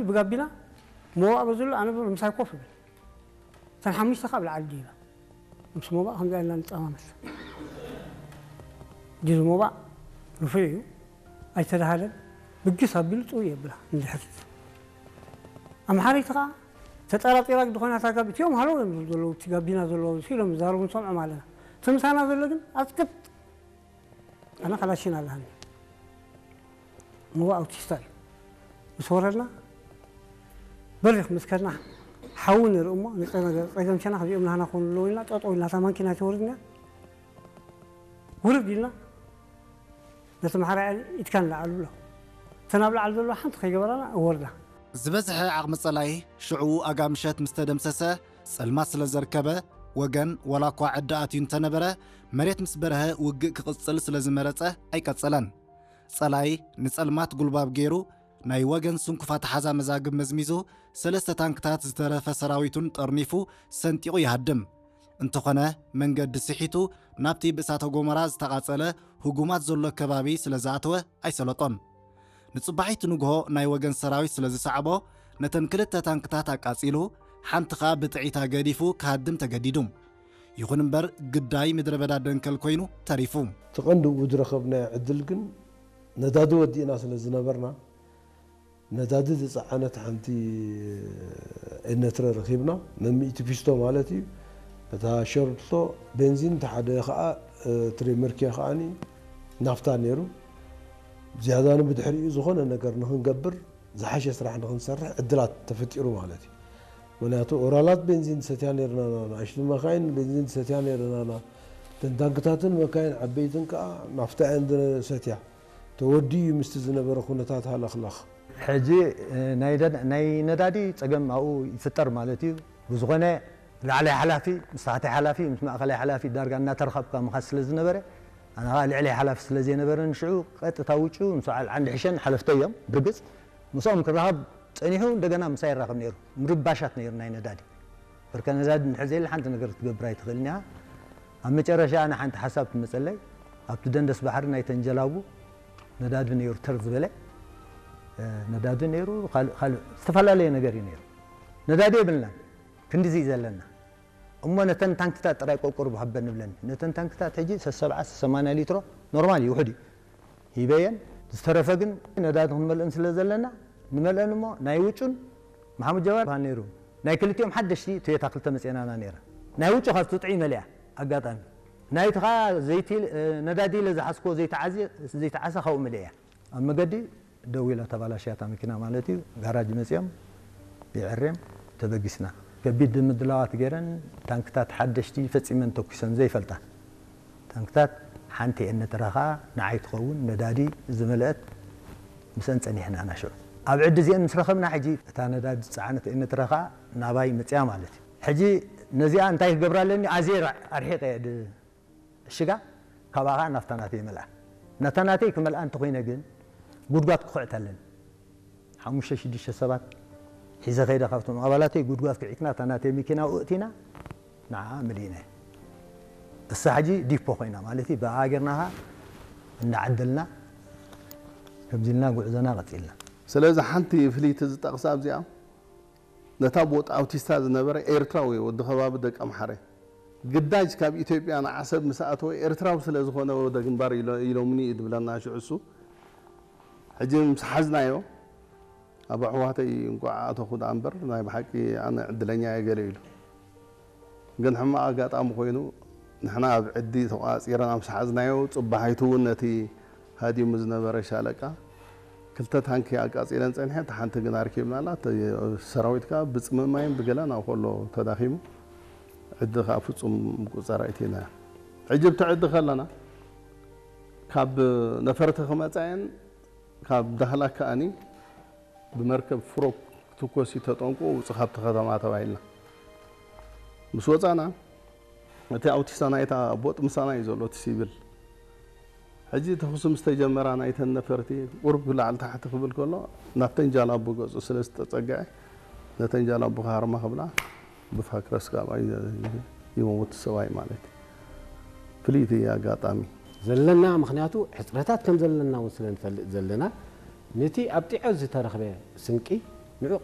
ብጋቢና ሞባእ በዝሎ ኣነ ምሳይ ኮፍ ይብል። እተን ሓሙሽተ ካብ ላዕሊ ድይባ ምስ ሞባእ ከምዚ ኢልና ንጠማመስ። ጅዝ ሞባእ ርፉዕ እዩ፣ ኣይተዳሃለን። ብግስ ኣቢሉ ጥው የብላ እንድሕር ኣምሓረይቲ ከዓ ተጠራጢራ ግዲ ኮይና እታ ጋቢ እቲኦም ሃለው እዮም ዘለዉ፣ እቲ ጋቢና ዘለዉ ኢሎም ዝዛረቡ ንሰምዖም ኣለና። እቲ ምሳና ዘሎ ግን ኣፅቅጥ ኣነ ካላሽን ኣለሃኒ። እሞ ኣውቲስታ እዩ። ምስ ወረድና በሪኽ ምስ ከድና ሓዊ ንርኢ እሞ ንፀገም ሸና ከዚኦም ናህና ኮኑ ኣለዉ ኢልና ጠጠው ኢልና እታ ማንኪና ተወርድና ውርድ ኢልና ነቲ ማሕራ ኢድካ ንላዕል ብሎ እተን ኣብ ላዕሊ ዘለዋ ሓንቲ ከይገበራና እወርዳ። ዝበዝሐ ዓቕሚ ጸላኢ ሽዑ ኣጋ ምሸት ምስ ተደምሰሰ ጸልማት ስለ ዘርከበ ወገን ዋላ እኳ ዕዲ ኣትዩ እንተነበረ መሬት ምስ በርሀ ውግእ ክቕጽል ስለ ዝመረጸ ኣይቀጸለን። ጸላኢ ንጸልማት ጉልባብ ገይሩ ናይ ወገን ስንኩፍ ኣተሓዛ መዛግብ መዝሚዙ ሰለስተ ታንክታት ዝተረፈ ሰራዊቱን ጠርኒፉ ሰንጢቑ ይሃድም። እንተኾነ መንገዲ ስሒቱ ናብቲ ብእሳተ ጎመራ ዝተቓጸለ ህጉማት ዘሎ ከባቢ ስለ ዝኣተወ ኣይሰለጦን። ንጽባሒቱ ንግሆ ናይ ወገን ሰራዊት ስለ ዝሰዕቦ ነተን ክልተ ታንክታት ኣቃጺሉ ሓንቲ ኸኣ ብጥዒታ ገዲፉ ክሃድም ተገዲዱ። ይኹን እምበር ግዳይ ምድረ በዳ ደንከል ኮይኑ ተሪፉ። እቲ ቀንዲ ብኡ ዝረኸብናዮ ዕድል ግን ነዳዲ ወዲእና ስለ ዝነበርና ነዳዲ ዝፀዓነት ሓንቲ ኤነትረ ረኺብና፣ መሚእቲ ፊስቶ ማለት እዩ። እታ ሸርቶ ቤንዚን፣ እቲ ሓደ ከዓ ትሬመርኪያ ከዓኒ ናፍታ ነይሩ። ዝያዳ ንብድሕሪኡ ዝኾነ ነገር ንክንገብር ዝሓሸ ስራሕ ንክንሰርሕ ዕድላት ተፈጢሩ ማለት እዩ። ምክንያቱ ኦራላት ቤንዚን ዝሰትያ ነርና፣ ንኣሽቱ መካይን ቤንዚን ዝሰትያ ነርና፣ ተንታንክታትን መካይን ዓበይትን ከዓ ናፍታ እየን ዝሰትያ። ተወዲኡ ምስቲ ዝነበረ ኩነታት ሃለኽላኽ። ሕጂ ናይ ነዳዲ ፀገም ኣብኡ ይፍጠር ማለት እዩ። ብዝኾነ ላዕላይ ሓላፊ ምስ ታሕታይ ሓላፊ ምስ ማእኸላይ ሓላፊ ዳርጋ እናተረኸብካ ምኻድ ስለ ዝነበረ ኣነ ከዓ ልዕላይ ሓላፊ ስለ ዘይነበረኒ ሽዑ ቀጥታ ውጩ ምስ በዓል ዓንዲ ሕሸን ሓለፍተይ እዮም ብርግፅ ምስኦም ክራኸብ ፀኒሑ እንደገና ምሳይ ይራኸብ ነይሩ። ምርባሻት ነይሩ ናይ ነዳዲ በርከ ነዳዲ እንድሕር ዘየለ ሓንቲ ነገር ክትገብር ኣይትኽእልን እያ። ኣብ መጨረሻ ኣነ ሓንቲ ሓሳብ ትመፀለይ ኣብቲ ደንደስ ባሕሪ ናይ ተንጀላቡ ነዳዲ ነይሩ ተር ዝበለ ነዳዲ ነይሩ። ካልእ ዝተፈላለየ ነገር እዩ ነይሩ። ነዳዲ የብልናን ክንዲዚ እዩ ዘለና እሞ ነተን ታንክታት ጥራይ ቆርቆር ሃበ ንብለን ነተን ታንክታት ሕጂ ሰሰብዓ ሰማንያ ሊትሮ ኖርማል እዩ ውሕድ እዩ ሂበየን። ዝተረፈ ግን ነዳዲ ክንመልእን ስለ ዘለና ንመልአን እሞ ናይ ውጩን መሓሙድ ጀባር ነይሩ ናይ ክልቲኦም ሓደሽቲ ቶዮታ ክልተ መፅአናና ነይራ ናይ ውጩ ካብቲ ጥዑይ መሊኣ ኣጋጣሚ ናይቲ ከዓ ዘይቲ ነዳዲ ኢለ ዝሓዝኮ ዘይተዓዘ ዘይተዓሰ ካብኡ መሊአ እያ ኣብ መገዲ ደው ኢላ ተባላሽያ እታ መኪና ማለት እዩ። ጋራጅ መጺኦም ይዕሬም ተበጊስና። ከቢድ ምድላዋት ገይረን ታንክታት ሓደሽቲ ፈጺመን ተኩሰን ዘይፈልጣ ታንክታት ሓንቲ እየን ነተራ ኸኣ ንዓይ ትኸውን ነዳዲ ዝመልአት ምስአን ጸኒሕና ኢና ሽዑ። ኣብ ዕዲ እዚአን ምስ ረኸብና ሕጂ እታ ነዳዲ ዝጸዓነት እየን ነተራ ኸኣ ናባይ መጺኣ ማለት እዩ። ሕጂ ነዚኣ እንታይ ክገብራ ኣለኒ ኣዝየ ኣርሒቐ እየ እሽጋ ካብኣ ከዓ ናፍታ ናተይ ይመልኣ ናታ ናተይ ክመልኣ እንተኮይነ ግን ጉድጓድ ክኹዕት ኣለኒ ሓሙሽተ ሽዱሽተ ሰባት ሒዘ ከይደ ካብቶም ኣባላተይ ጉድጓድ ክዒትና እታ ናተይ መኪና ኣእቲና ንዓ መሊእና እሳ ሕጂ ዲፖ ኮይና ማለት ብኣ ጌርና ከዓ እንዳዓደልና ከምዚ ኢልና ጉዕዞና ቀፂልና ስለዚ ሓንቲ ፍልይቲ ዝጠቕሳ ኣብዚኣ ነታ ቦጥ ኣውቲስታ ዝነበረ ኤርትራዊ ወዲ ከባቢ ደቂ ኣምሓረ ግዳጅ ካብ ኢትዮጵያ ንዓሰብ ምስ ኣተወ ኤርትራዊ ስለ ዝኾነ ወደ ግንባር ኢሎምኒ እዩ ዝብለና ሽዑ እሱ ሕጂ ምስ ሓዝናዮ ኣብ ኣሕዋተይ እንቋዕ ኣተኹ ደኣ እምበር ናይ ብሓቂ ኣነ ዕድለኛ እየ ገለ ኢሉ ግን ሕማቕ ኣጋጣሚ ኮይኑ ንሕና ኣብ ዕዲ ተቋጺርና ምስ ሓዝናዮ ጽባሒቱ እውን ነቲ ሃዲሙ ዝነበረ ሻለቃ ክልተ ታንኪ ኣቃጺለን ጸኒሐ፣ እታ ሓንቲ ግን ኣርኪብናላ። እቲ ሰራዊት ከኣ ብጽምማይን ብገለን ኣብኡ ከሎ ተዳኺሙ፣ ዕዲ ከኣ ፍጹም ምቁጽጻር ኣይትናዮ። ሕጂ ኣብቲ ዕዲ ከለና ካብ ነፈርቲ ክመጻ እየን፣ ካብ ዳህላክ ከኣኒ ብመርከብ ፍሮክ ክትኮስ እዩ ተጠንቅቑ ውጹ ካብቲ ከተማ ተባሂልና። ምስ ወጻና እቲ ኣውቲስታ ናይታ ቦጥ ምሳና እዩ ዘሎ እቲ ሲቪል። ሕጂ ተኹሲ ምስ ተጀመራ ናይተን ነፈርቲ ቁሩብ ላዕሊ ታሕቲ ክብል ከሎ ናብተን ጃላቡ ገጹ ስለ ዝተጸግዐ ነተን ጃላቡ ክሃርማ ክብላ ብፋክረስ ካብኣ ይመውት ሰብኣይ ማለት እዩ። ፍልይቲ ኣጋጣሚ። ዘለና ምኽንያቱ ሕጽረታት ከም ዘለና እውን ስለ ንፈልጥ ዘለና ነቲ ኣብ ጢዖ ዝተረኽበ ስንቂ ንዑ